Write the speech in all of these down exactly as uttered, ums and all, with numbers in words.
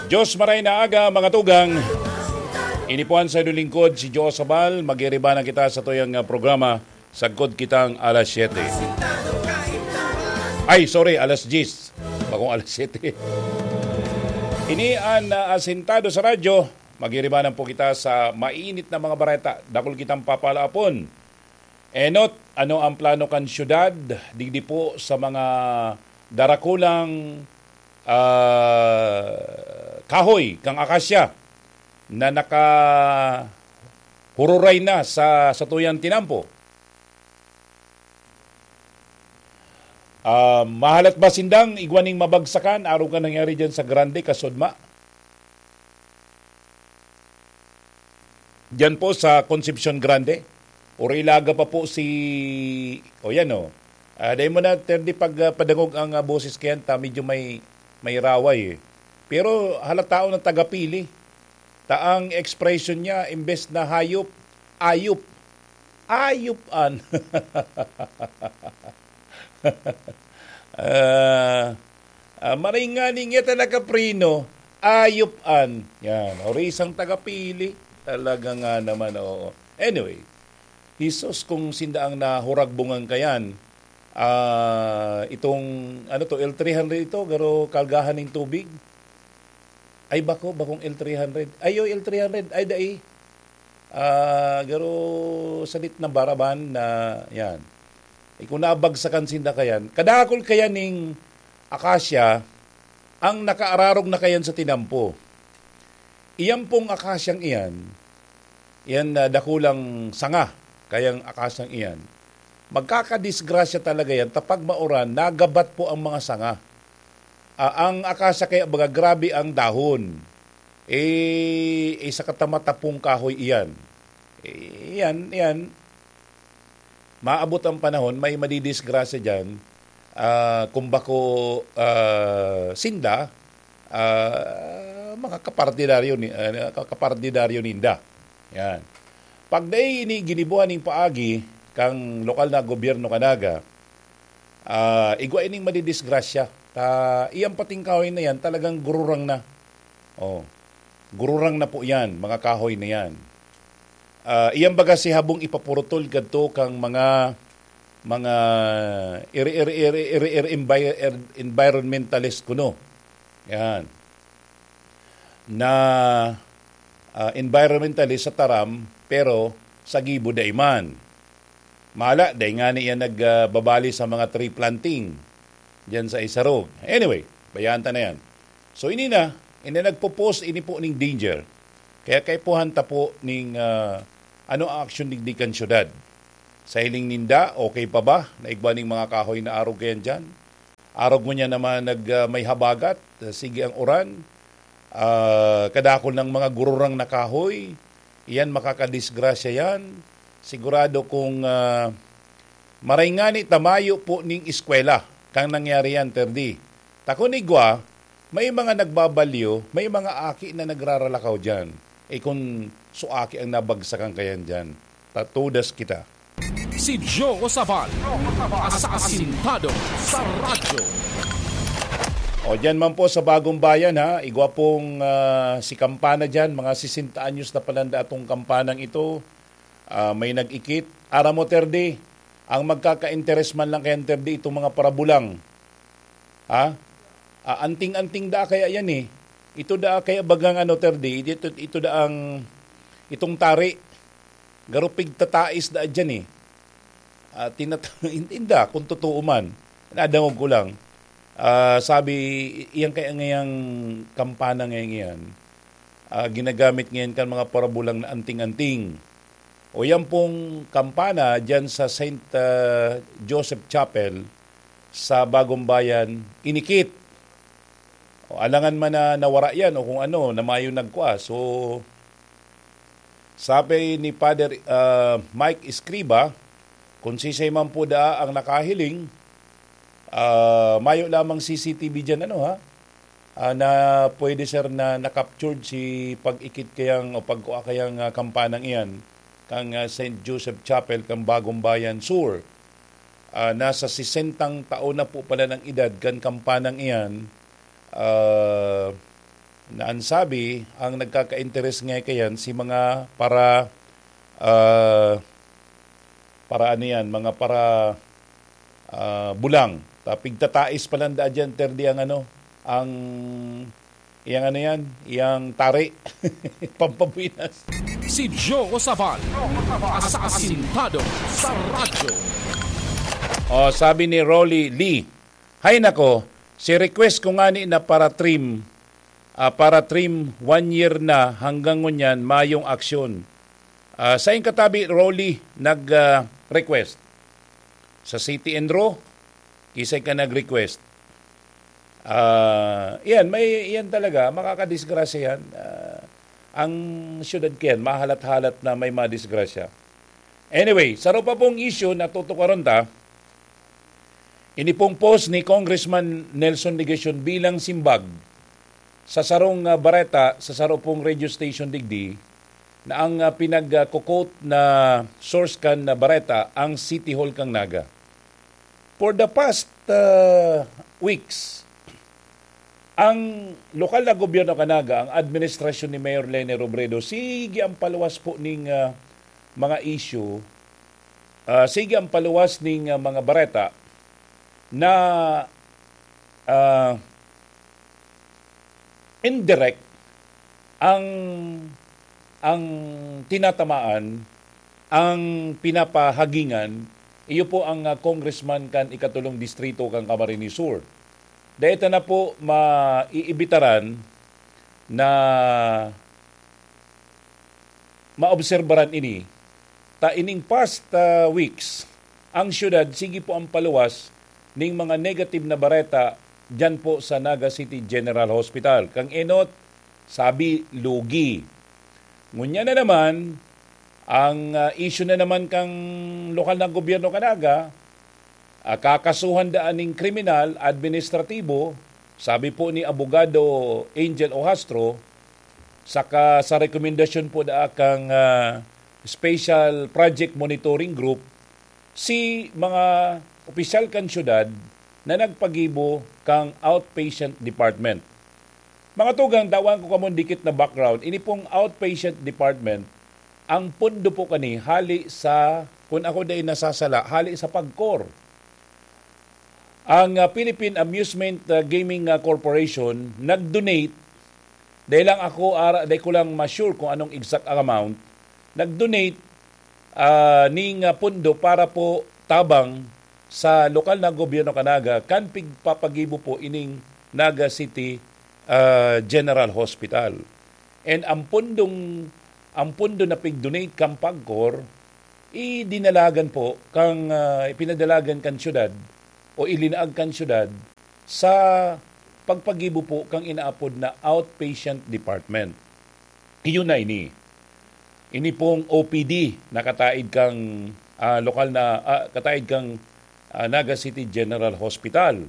Diyos maray na aga, mga tugang. Ini po an saindong lingkod, si Joe Sabal. Magiriba na kita sa tuyang, ah, programa, Sagkod Kitang Alas Siyete. Ay, sorry, alas diyes. Bakong alas siyete. Ini an, ah, Asintado sa Radyo. Magiriba na po kita sa mainit na mga bareta. Dakul kitang papalaapon. Enot, ano ang plano kan syudad digdi po sa mga darakulang, ah, kahoy kang akasya na nakahururay na sa satuyang tinampo? Ah, mahalat ba sindang igwa ning mabagsakan arog kan nangyari diyan sa Grande, Kasudma? Diyan po sa Concepcion Grande. Or ilaga pa po si, o yan o. Ah, dahil mo na, Terdi, pag, ah, padangog ang, ah, boses kayan, ta medyo may, may raway eh. Pero halata na taga-Pili. Ta ang expression niya, imbes na hayop, ayop. Ayop an. Ah, ah, maray nga ni ngeta nakapreno, ayop an. Yan, orisang taga-Pili. Talaga nga naman, oo. Anyway, Jesus, kung sinda ang nahuragbungan kayan, ah, itong, ano to, L three hundred ito, garo kalgahan ning tubig. Ay, bako, bakong L three hundred. Ay, oy, L three hundred. Ay, dai. Ah, garo salit na baraban na, yan. Eh, kung nabagsakan sinda kayan, kadakul kayan ning akasya ang nakaararog na kayan sa tinampo. Iyan pong akasyang iyan, iyan na dakulang sanga, kayang akasyang iyan, magkakadisgrasya talaga yan. Ta pag mauran, nagabat po ang mga sanga. Ah, ang akasya kaya baga grabe ang dahon. Eh, isa ka tamatapong kahoy iyan. Eh, iyan, iyan. Maabot ang panahon, may madidisgrasya diyan. Ah, kung bako, ah, sinda, ah, mga kapartidaryo ni, ah, ka-, kapartidaryo ninda. Yan. Pag dai ini ginibuhan ning paagi kang lokal na gobyerno kanaga, ah, igwa ining madidisgrasya. Ta, iyang pating kahoy na yan, talagang gururang na. Oh, gururang na po yan, mga kahoy na yan. Ah, iyan baga si habong ipapurutol kadto kang mga, mga iri-, iri-, iri-, iri-, envi-, er-, environmentalist kuno. Yan. Na, ah, environmentalist sa taram, pero sa gibo dai man. Mala, dai nga niya nag, ah, babali sa mga tree planting diyan sa Isarog. Anyway, bayaan ta na yan. So, ini na, ini nagpo-post, ini po ning danger. Kaya kaipuhan ta po ning, ah, ano ang aksyon digdi kan syudad. Sa hiling ninda, okay pa ba? Naigwa ning mga kahoy na arog kayan dyan. Arog mo niya naman nag, ah, may habagat, ah, sige ang uran. Ah, kadakol ng mga gururang na kahoy. Iyan, makakadisgrasya yan. Sigurado kung, ah, maray ngani ta mayo po ning eskwela kang nangyari yan, Terdi. Ta kun igwa, may mga nagbabalyo, may mga aki na nagraralakaw diyan. Eh, kun su aki ang nabagsakan kayan diyan, tatudas kita. Si Joe Sabal, asasintado sa radyo. O, diyan man po sa Bagong Bayan, ha, igwa pong, ah, si Kampana diyan, mga sesenta anyos na pala ang datong Kampanang ito. Ah, may nag-ikit. Aram mo, Terdi, ang magkaka-interes man lang kay Terdi, itong mga parabulang. Ha? Ah, anting-anting da kaya yan eh. Ito da kaya bagang ano, Terdi, ito, ito da ang, itong tari. Garupig tatais da dyan eh. Ah, tinat-, inda, kung totoo man. Nadangog ko lang. Ah, sabi, iyang kaya ngayang kampana ngayon yan, ah, ginagamit ngayon kan mga parabulang na anting-anting. O yan pong kampana dyan sa Saint, ah, Joseph Chapel sa Bagong Bayan, inikit. O alangan man na nawara yan o kung ano, na mayo nagkua. So, sabi ni Father, ah, Mike Escriba, kung sisay man po daa ang nakahiling, ah, mayo lamang C C T V dyan, ano ha? Ah, na pwede, sir, na na-captured si pag-ikit kayang o pagkua kayang, ah, kampanang iyan kang, ah, Saint Joseph Chapel kang Bagong Bayan Sur. Ah, nasa sesentang taon na po pala ng edad kan kampanang iyan. Ah, Na ang sabi, ang nagkaka-interes nga kayan si mga para, ah, para ano yan, mga para, ah, bulang. Ta pigtatais pa lang daa dyan, Terdi, ang ano, ang, yang ano yan, yang tari. Pampabuenas. Si Joe Sabal, asasintado sa radyo. Oh, sabi ni Rolly Lee, "Hay nako, si request ko ngani na para trim, ah, para trim, one year na hanggang ngunyan, mayong aksyon." Ah, sain katabi, Rolly, nag, ah, request? Sa City and Ro, kisay ka nag-request. Ah, iyan, may, iyan talaga, makakadisgrasya yan. Ah, ang syudad kayan, mahalat-halat na may madisgrasya. Anyway, saro pa pong issue na tutukaron ta, ini pong post ni Congressman Nelson Legacion bilang simbag sa sarong, ah, bareta sa saro pong radio station digdi na ang, ah, pinag-quote na source kan na bareta ang City Hall kan Naga. For the past, ah, weeks, ang lokal na gobyerno kan Naga, ang administrasyon ni Mayor Leni Robredo, sige ang paluwas po ning, ah, mga issue, ah, sige ang paluwas ning, ah, mga bareta na, ah, indirect ang, ang tinatamaan, ang pinapahagingan, iyo po ang, ah, congressman kan ikatulong distrito kan Camarines Sur. Dai ta na po maiibitaran na maobserbaran ini, ta ining past, ah, weeks, ang syudad sige po ang paluwas ning mga negative na bareta diyan po sa Naga City General Hospital. Kang enot, sabi, lugi. Ngunyan na naman, ang, ah, issue na naman kang lokal na gobyerno kan Naga, ah, kakasuhan daan ning kriminal, administratibo, sabi po ni Abogado Angel Ohastro, saka sa rekomendasyon po daa kang, ah, Special Project Monitoring Group, si mga opisyal kan syudad na nagpagibo kang outpatient department. Mga tugang, tawan ko kamo dikit na background. Ini pong outpatient department, ang pondo po kani hali sa, kung ako dai nasasala, hali sa pagkor. Ang, ah, Philippine Amusement, ah, Gaming, ah, Corporation nag-donate, dai lang ako, ara, dai ko lang ma-sure kung anong exact ang amount, nag-donate, ah, ning, ah, pondo para po tabang sa lokal na gobyerno kan Naga, kan pigpapagibo po ining Naga City, ah, General Hospital. And ang pundong, ang pundo na pig-donate kan pagkor, idinalagan po kang, ah, ipinadalagan kan syudad o ilinaag kan syudad sa pagpagibo po kang inaapod na outpatient department. Iyon na ini. Ini pong O P D na kataid kang, ah, lokal na, ah, kataid kang, ah, Naga City General Hospital.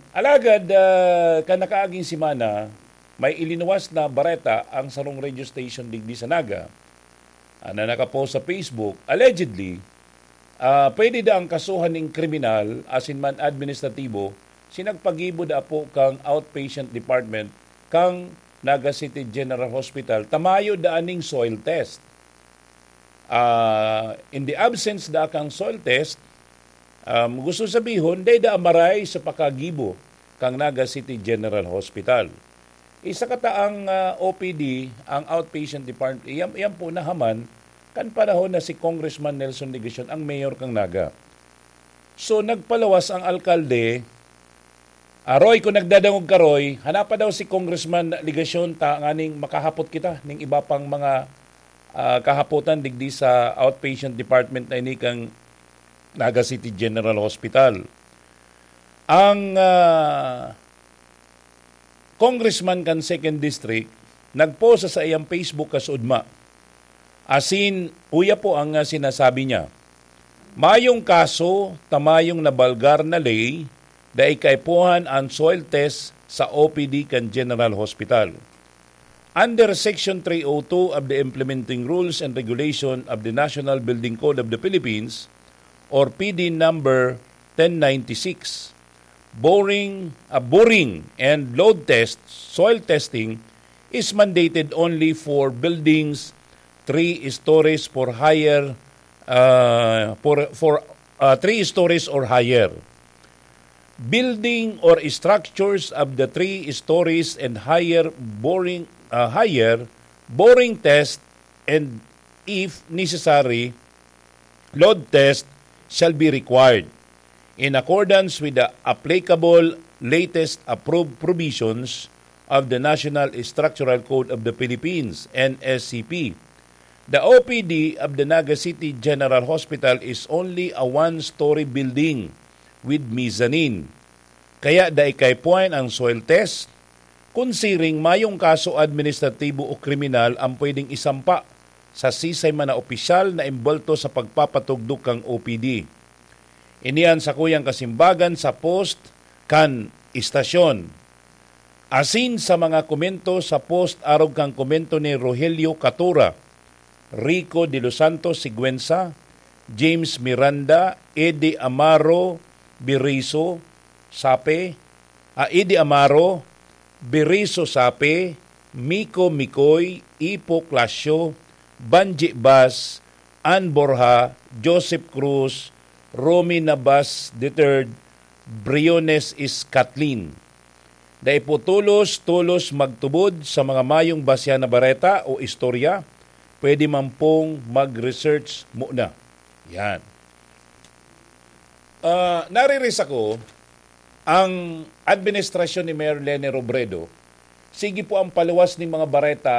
Alagad, ah, kan nakaaging semana, may ilinuwas na bareta ang sarong radio station digdi sa Naga, ah, na nakapost sa Facebook. Allegedly, ah, pwede daang kasuhan ning kriminal asin man administratibo si nagpagibo daa po kang outpatient department kang Naga City General Hospital ta mayo daa ning soil test. Ah, in the absence daa kang soil test, um, gusto sabihon, dai daa maray sa pakagibo kang Naga City General Hospital. Isa kataang, ah, O P D, ang outpatient department, iyan, iyan po nahaman kan panahon na si Congressman Nelson Legacion ang mayor kang Naga. So, nagpaluwas ang alkalde, ah, Roy, kung nagdadangog ka, Roy, hanapa daw si Congressman Legacion ta nganing makahapot kita ning iba pang mga, ah, kahapotan digdi sa outpatient department na ini kang Naga City General Hospital. Ang, ah, congressman kan Second District nagpost sa saiyang Facebook kasuodma. Asin, uya po ang, ah, sinasabi niya, "Mayong kaso ta mayong nabalgar na ley, dai kaipuhan an soil test sa O P D kan General Hospital. Under Section three oh two of the Implementing Rules and Regulation of the National Building Code of the Philippines, or P D number ten ninety-six, boring, uh, boring and load test, soil testing is mandated only for buildings three stories for higher, uh, for, for, uh, three stories or higher. Building or structures of the three stories and higher boring, uh, higher boring test, and if necessary, load test shall be required in accordance with the applicable latest approved provisions of the National Structural Code of the Philippines, N S C P. The O P D of the Naga City General Hospital is only a one-story building with mezzanine. Kaya dai kay puwan ang soil test. Kun siring, mayong kaso administratibo o kriminal ang pwedeng isampa sa sisay man na opisyal na imbwelto sa pagpapatugdok kan O P D. Ini an sakuyang kasimbagan sa post kan istasyon. Asin sa mga komento sa post arog kan komento ni Rogelio Catura, Rico de los Santos Siguenza, James Miranda, Eddie Amaro Berizo Sape, ah, Eddie Amaro, Berizo Sape, Miko Mikoy, Ipo Clasio, Banji Bas, Ann Borja, Joseph Cruz, Romy Nabas the third, Briones is Kathleen. Dai po tolos-tolos magtubod sa mga mayong basya na bareta o istorya, pwede man pong mag-research muna. Yan. Ah, nariris ako, ang administrasyon ni Mayor Leni Robredo, sige po ang paluwas ning mga bareta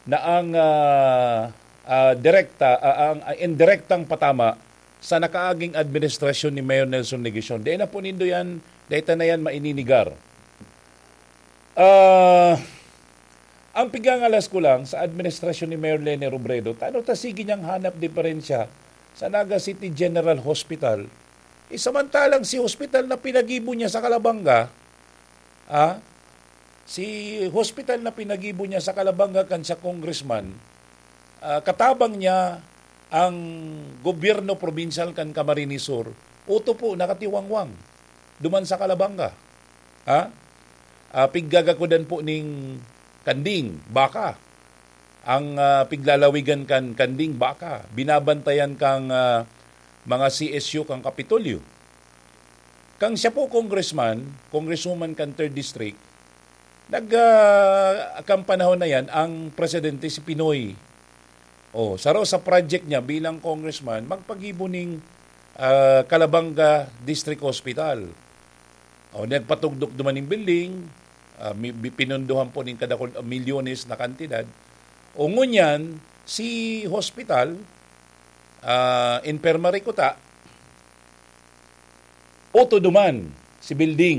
na ang, ah, ah, direkta, ah, ang, ah, indirektang patama sa nakaaging administrasyon ni Mayor Nelson Legacion. Dai na po nindo yan, dai ta na yan maininigar. Ah, ang pigangalas ko lang sa administrasyon ni Mayor Leni Robredo, tano ta sige niyang hanap diferensya sa Naga City General Hospital. Eh, samantalang si hospital na pinagibo niya sa Kalabanga, ah, si hospital na pinagibo niya sa Kalabanga kan siya congressman, ah, katabang niya ang gobyerno probinsyal kan Camarines Sur, uto po, nakatiwangwang duman sa Kalabanga. Ha? Ah, piggagakudan po ning kanding, baka. Ang, ah, piglalawigan kan kanding, baka. Binabantayan kang, ah, mga C S U kan Kapitolyo. Kang siya po congressman, congresswoman kan third District, nag, ah, kang panahon na yan, ang presidente si Pinoy. Oh, saro sa project niya bilang congressman, magpagibo ning, ah, Calabanga District Hospital. Oh, nagpatugdok duman ning building, ah, mi-, bi-, pinundohan po ning kadakul-, milyones na kantidad. O ngunyan, si hospital, ah, infirmary kuta, uto duman si building.